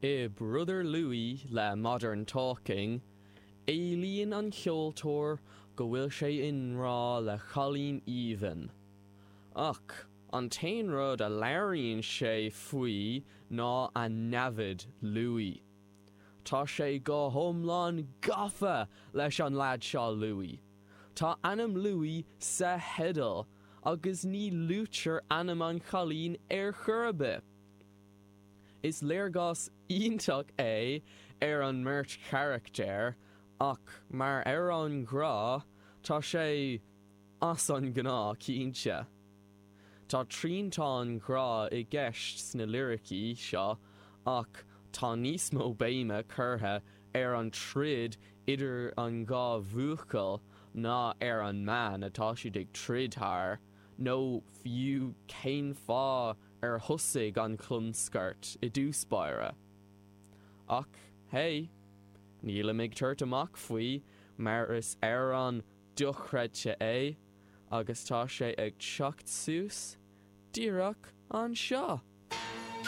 I Brother Louie le Modern Talking, éilíonn an ceoltóir go bhfuil sé i ngrá le cailín aoibhinn. Ach an t-aon rud a labhraíonn sé faoi ná a namhaid Louie. Tá sé go hiomlán gafa leis an leaid seo Louie. Tá ainm Louie sa theideal agus ní luaitear ainm an chailín ar chor ar bith. Is léargas iontach é ar an mbeirt charachtar ach mar amhrán grá, tá sé as an ngnáth cinnte. Tá triantán grá i gceist sna liricí seo ach tá níos mó béime curtha ar an troid idir an dhá bhuachaill ná ar an mbean atá siad ag troid thar, nó fiú cén fáth ar thosaigh an chlonscairt i dtús báire. Ach hey, nílim ag tabhairt amach faoi mar is amhrán dochreidte é agus tá sé ag teacht suas díreach anseo!